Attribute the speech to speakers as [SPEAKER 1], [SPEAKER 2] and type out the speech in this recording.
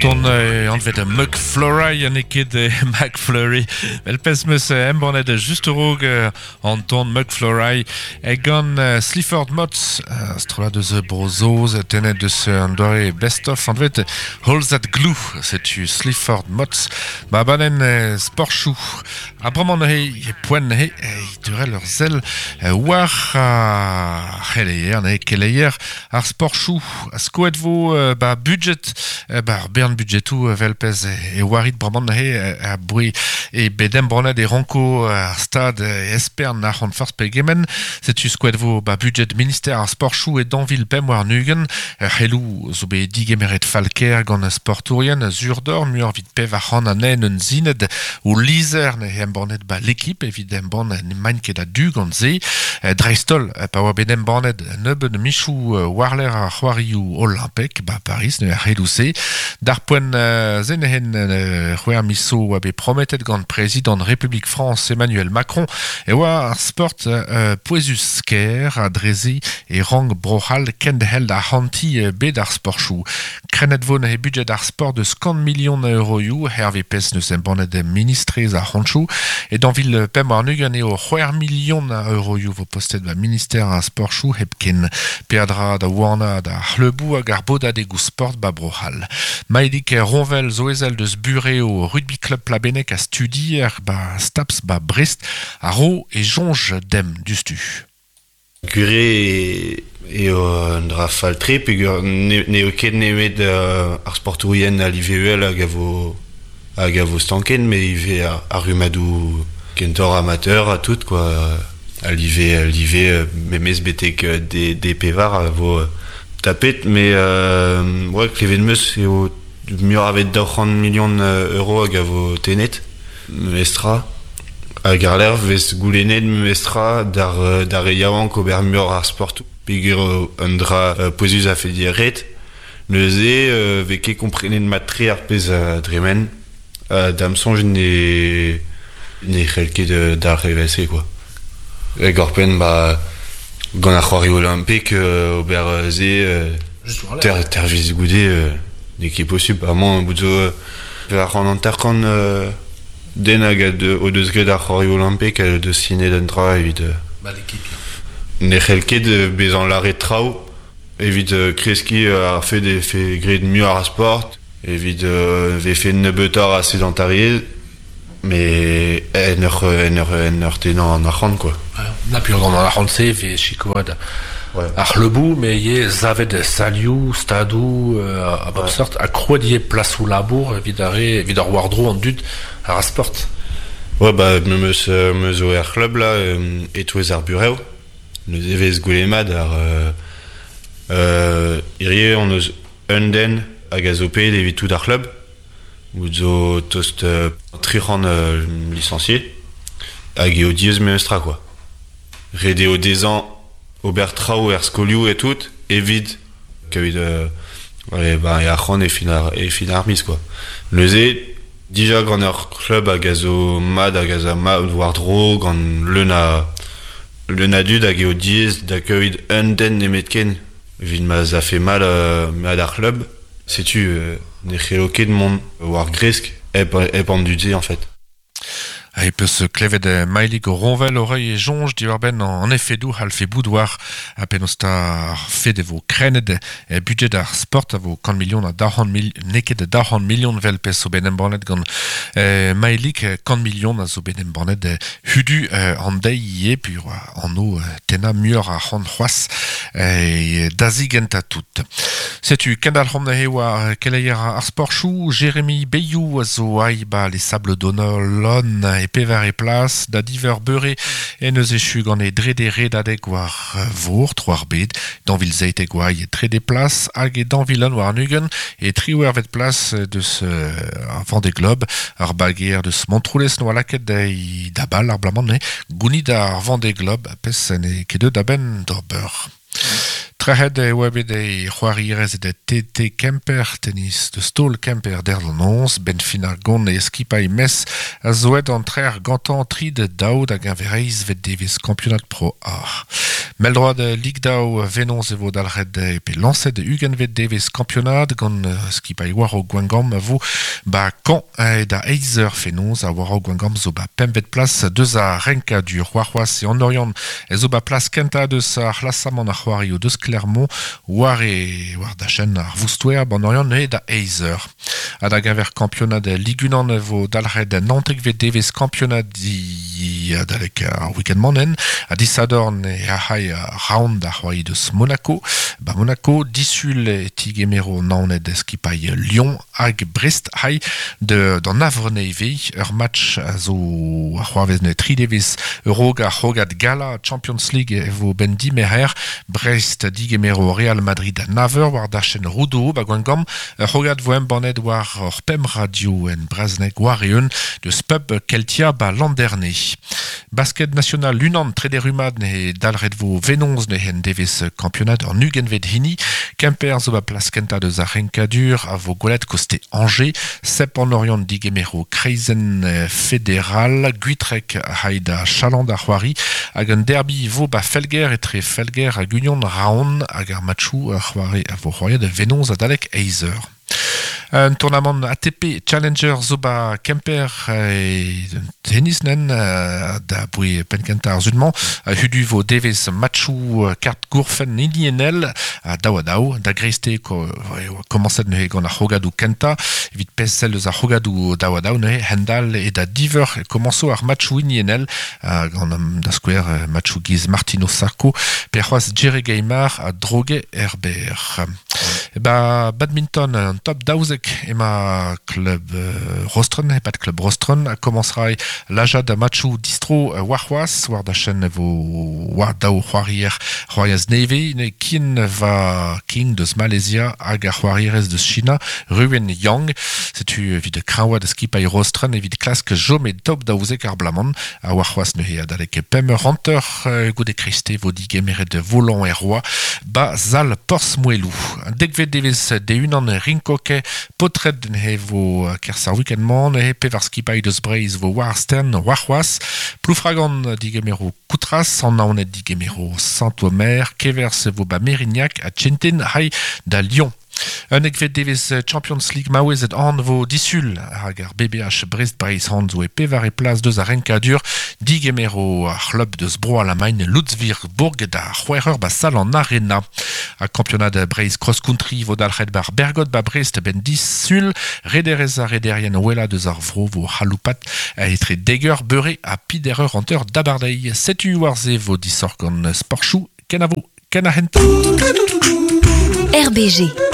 [SPEAKER 1] ton anvet McFlurry ha n'eo ket McFlurry. Vel pezh 'meus embannet just a-raok an ton McFlurry gant Sleaford Mods, strollad eus Bro-Saoz tennet eus an doare Best of anvet All That Glue. Setu Sleaford Mods ma abadenn sportchoù. Ha bremañ neuze e poent neuze teurel ur sell war ar c'heleier, neuze keleier ar sportchoù. Skoet vo ba budget, ba ar bern budgetoù evel pezh e oarit bremañ neuze aboe e bet embannet e ranko ar stad espern arc'hant forzh pegement. Setu skoet vo ba budget minister ar sportchoù e 2025. Ur c'heloù zo bet digemeret fall-kaer gant sportourien Zurdor muioc'h evit 400 anezhe un zined o lizher neuze embannet ba L'Équipe evit embann n'emaint ket a-du gant se. Dreist-holl pa oa bet embannet nebeut michoù war-lerc'h ar c'hoarioù olimpek ba Paris neuze ar c'heloù-se. D'ar poent se neuze c'hwec'h miz zo oa bet prometet gant prezidant Republik Frañs Emmanuel Macron e oa ar sport pouezus-kaer ha dre-se e rank Bro-C'hall kenderc'hel da arc'hantiñ bed ar sportoù. Krennet vo neuze budjed ar sport eus kant milion a euroioù, hervez pezh n'eus embannet ministrez ar c'hontoù. E 2025 eo c'hwec'h milion a euroioù vo postet ba minister ar sportoù hepken. Peadra da wanaat ar c'hleuboù hag ar bodadegoù sport ba Bro-C'hall. Maedig Ronvel zo ezel deus burev Rugby Club Plabenneg ha studier ba Staps ba Brest a ro e soñj demp diouzhtu.
[SPEAKER 2] Gwir eo un dra fall-tre peogwir n'eo ket nemet ar sportourien a live uhel hag a vo hag a vo stanket met ivez ar rummadoù kentoc'h amateur ha tout quoi. A live live memes betek D pevar a vo tapet met ouais klevet 'm eus eo muioc'h a vet 200 milion euro hag a vo tennet. Memestra. Hag àr-lerc'h 'vez goulennet memestra d'ar d'ar re yaouank ober muioc'h ar sportoù peogwir un dra pouezus a fed ret. Neuze 'vez ket komprenet mat-tre ar pezh a dremen. Da'm soñj ne ne c'hell ket dalc'h evel-se quoi. Hag oc'hpenn ba gant ar c'hoarioù olimpek ober se ter tervezh goude n'eo ket posupl. Amañ bout zo War an hanter-kant den hag o deus graet ar c'hoarioù olimpek o deus sinet un dra evit ne c'hell ket bezañ lâret traoù evit kreskiñ ar fed e vefe graet muioc'h a sport, evit vefe nebeutoc'h a sedentariezh, met en ur en ur en ur tennañ an arc'hant quoi.
[SPEAKER 1] Na peogwir gant an arc'hant-se e vez sikouret ar c'hleuboù, met ivez savet salioù, stadoù a bep seurt, ha krouet ivez plasoù labour evit ar re, evit ar war-dro an dud a ra sport.
[SPEAKER 2] Ouais, bah, me meus, me zo er c'hlub là, e-touez ar burev. Neuze e vez gwelet mat ar hirie on eus un den hag a zo paeet evit tout ar c'hlub. Bout zo tost 300 licenciés hag eo diaes memestra quoi. Ret eo dezhañ ober traoù er skolioù et tout evit kaout ba, e arc'hant e fin ar, e fin ar miz quoi. Neuze, dija gant ur club hag a zo mat hag a za mat war-dro gant leun a leun a dud hag eo diaes da kaout un den nemetken evit ma 'z afe mat mat ar c'hlub. Setu ne c'hello ket mont war gresk hep hep an dud-se en fait.
[SPEAKER 1] E peus klevet Maelig Ronvel o reiñ e soñj diwar-benn an efedoù c'hallfe bout war ha penaos 'ta ar fed e vo krennet budjed ar sport a vo kant milion ha 200 mil n'eo ket 200 milion 'vel pezh zo bet embannet gant Maelig kant milion a zo bet embannet hudu an deiz ivez peogwir anv tennañ muioc'h arc'hant c'hoazh da zigentañ tout. Setu kendalc'homp neuze war keleier ar sportchoù. Jérémy Beyou a zo aï ba les Sables d'Olonne e pevare plas da diveur beure en eus echu gant e drede redadeg war vor tro ar bed. Dañvil zeitek oa e trede plas hag e dañvil un warn-ugent e triwec'hvet plas deus ar Vendée Globe. Ar bageer deus Montroulez n'oa lakaet da bal ar bloaz-mañ neuze. Gounit ar Vendée Globe, pezh n'eo ket deuet a-benn d'ober. Trec'het e oa bet e c'hoarierez da TT Kemper, tennis de stol Kemper der an noz, ben fin ar gont e skipailh mes a zoet an trec'h gantañ tri da daou da geñver vet devez kampionad Pro A. Mell-droad Ligue daou venoz e vo dalc'het pe lañset ugentvet devez kampionad gant skipailh war Gwengamp a vo ba Caen da eizh eur fenoz ha war Gwengamp zo ba pempvet plas deus ar renkadur warc'hoazh e an Oriant e zo ba plas kentañ deus ar c'hlasamant ar c'hoarioù deus Clermont war e war dachenn ar Voustoer ban Oriant neuze da eizh eur. Ha da geñver kampionad Ligue unan e vo dalc'het naontekvet devez kampionad di adalek ar week-end mañ ha disadorn e ac'hay round ar c'hoari deus Monaco. Ba Monaco disul e tigemero Naoned skipailh Lyon hag Brest hay de d'an Avrene ivez ur match a zo a c'hoarvez ne tri devez a-raok ar c'hrogad gala Champions League e vo ben dimerc'her Brest digemero Real Madrid da nav eur war dachenn Roudourou ba Gwengamp ur c'hrogad vo embannet war ur pemp radio en brezhoneg war-eeun deus pub Keltia ba Landerne. Basket national unan trede rummad ne dalc'het vo venoz ne en devez kampionad an ugentvet hini. Kemper zo ba plas kentañ deus ar renkadur a vo gwelet koste Angers. Sep an Oriant digemero Kreizenn Federal Gwitreg hay da Chaland ar c'hoari hag un derby vo ba Felger etre Felger hag Union Raon hag ar matchoù ar c'hoari a vo c'hoariet venoz adalek eizh eur. Un tournamant ATP Challenger zo ba Kemper e tennis nen da boe penn-kentañ ar sun-mañ. Hudu vo devez matchoù kart gourfenn hiniennel ha daou ha daou. Da greiste komañset neuze gant ar c'hrogadoù kentañ. Evit pezh sell eus ar c'hrogadoù daou ha daou neuze hend-all e da diveur e komañso ar matchoù hiniennel gant da skouer matchoù giz Martino Sarko pe c'hoazh Jerry Gaymar ha Droge Herbert. Ba badminton an top daouzek ema klub Rostren, e-pad klub Rostren a komañs ray lajad matchoù distro warc'hoazh war dachenn vo war daou c'hoarier c'hoariaz nevez ne Kin Va King deus Malaysia hag ar c'hoarierez deus China Ruwen Yang. Setu evit kreñvaat skipailh Rostren evit klask chom e top daouzek ar bloaz-mañ ha warc'hoazh neuze adalek pemp eur hanter goude kreiste vo digemeret volant er Roi ba sal Porzh-Moeloù. Dekvet devez de-unan rinkoke paotred neuze vo kerzh ar week-end-mañ neuze pevar skipailh deus Breizh vo war ar stern warc'hoazh. Ploufragan digemero Koutras, an Naoned digemero Saint-Omer, Kevers vo ba Mérignac ha Tchentin hay da Lyon. Unnekvet devez Champions League maouezed an vo disul hag ar BBH Brest Breizh han zo e pevare plas deus ar renkadur digemero ar c'hlub deus Bro Alamagn Ludwigsburg da c'hwec'h eur ba sal an Arena. Ha kampionad Breizh Cross Country vo dalc'het bar Bergot ba Brest ben disul rederez ar rederien wella deus ar vro vo c'haloupat etre dek eur beure ha pider eur hanter d'abardaez. Setu war se vo disoc'h gant Sportchou. Kenavo, ken ar c'hentañ.
[SPEAKER 3] RBG.